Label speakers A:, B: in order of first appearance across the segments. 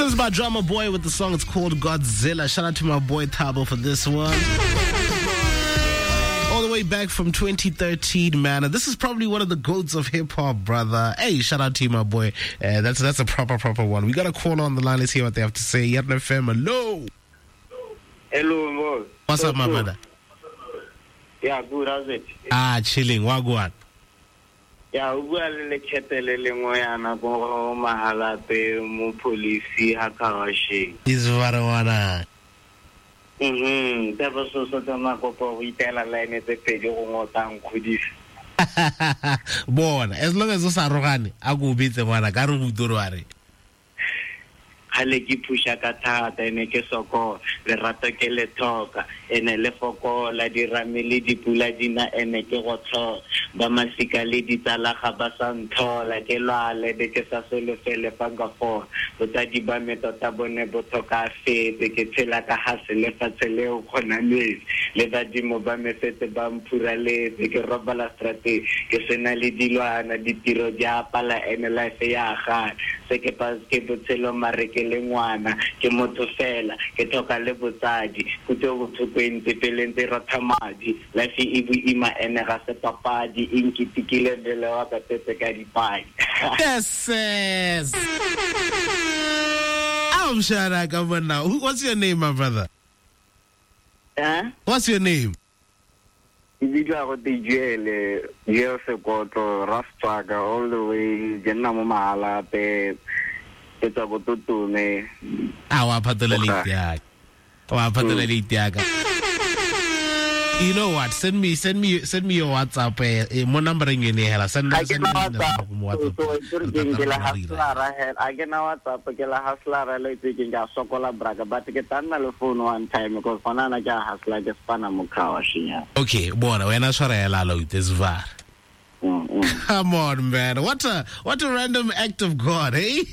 A: is my drummer boy with the song. It's called Godzilla. Shout out to my boy Thabo for this one. All the way back from 2013, man. And this is probably one of the goats of hip hop, brother. Hey, shout out to you, my boy. That's a proper one. We got a caller on the line. Let's hear what they have to say. Yarn FM, hello.
B: Hello, Mo.
A: What's up, my brother?
B: Yeah, good. How's it?
A: Chilling. Wagwan.
B: Ya o bua le lekgethe le lengwe yana ko Mahalapye mo police ha Kawasheng.
A: Isvarwana.
B: Taba so so tsa makopo go itela line tse pedi go ngotang kgodisa.
A: Bona, as long as o sa rogane, a go bitse ngwana ka re go utore wa re.
B: Kgale ke phusha ka thata ene ke sokola, lerato ke le thoka, ene le fokola, dirame le dipula dina ene ke go tlhola, ba masika le ditsala ga ba sa ntlhola, ke lwale be ke sa solofele fa nka fola, botsadi ba me tota bone bo tlhokafetse, ke tshela ka hase lefatshe leo kgona metsi, le badimo ba me setse ba mphuraletse, ke robala strateng, ke sena le dilwana, ditiro di a pala ene life ya gana, se ke pa ke botshelo mare ke le ngwana, ke motho fela, ke tlhoka le botsadi, kutlo botlhoko e ntse pele ntse rotha madi, life e boima ene ga se papadi, e nkitikile mmele wa ka tetse ka dipadi.
A: Yes, yes. I'm sure I come on now. What's your name, my brother?
B: Huh?
A: What's your name?
B: Ke bitswa go te Joel, Joel Sekotlo, Rastwaka, all the way, ke nna mo Mahalapye, ke tswa ko Totome.
A: Ah, wa phatola late ya ka. Wa phatola late ya ka. You know what? Send me your WhatsApp. Mo number eng ene hela. Send
B: me
A: WhatsApp.
B: So ke la hustler hela. A ke na WhatsApp, ke la hustler le tse ke ka sokola braka, but ke tla nna le phone one time because gona na ke a hustler ke spana mo car washing.
A: Okay, bona wena tshwara hela lo this var. Come on, man. What a random act of God, eh?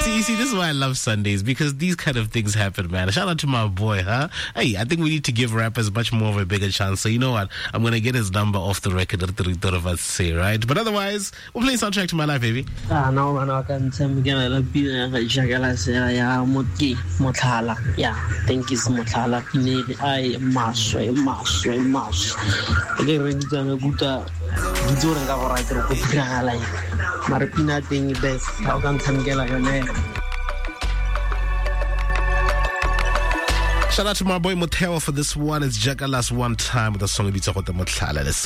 A: See, this is why I love Sundays, because these kind of things happen, man. Shout out to my boy, huh? Hey, I think we need to give rappers much more of a bigger chance. So you know what? I'm going to get his number off the record, right? But otherwise, we're playing Soundtrack to My Life, baby.
C: No, man, I can't tell me. Yeah, thank you, Motlhala. I maswe.
A: Shout out to my boy Motheo for this one. It's Jackalas One Time with the song Motlhala. Let's go.